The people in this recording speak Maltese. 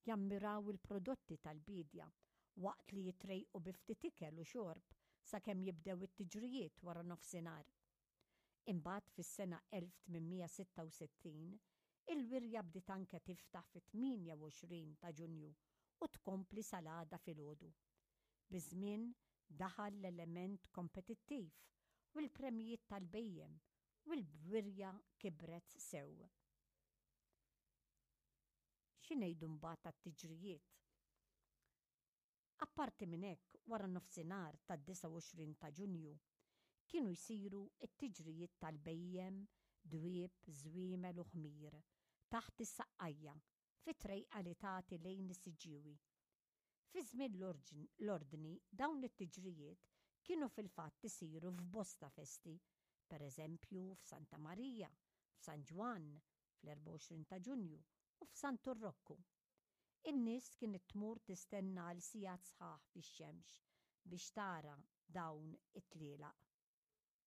jammiraw il-prodotti tal-biedja waqt li jitrejqu bi ftit ikel u xorb sakemm jibdew it-tiġrijiet wara nofsinhar. Imbagħad fis-sena 1866, il-wirja bdiet anke tiftaħ fit-28 ta' Ġunju u tkompli sal-għada filgħodu. Biż-żmien daħal l-element kompetittiv u l-premjijiet tal-bhejjem u l-wirja kibret sew. Xi ngħidu mbagħad għat-tiġrijiet? Apparti minn hekk, wara nofsinhar tad-29 ta' Ġunju, kienu jsiru t-tiġrijiet tal-bhejjem, dwieb, żwiemel u ħmir, taħt is-Saqqajja, fi trejqa li tagħti lejn is-Siġġiewi. Fi żmien l-Ordni dawn it-tiġrijiet kienu fil-fatt isiru f'bosta festi, per eżempju f'Santa Marija, f'San Ġwann, fl-24 ta' Ġunju u f'Santu Rokku. In-nies kienet tmur tistenna għal sigħat sħaħ fix-xemx biex tara dawn it-tlielaq.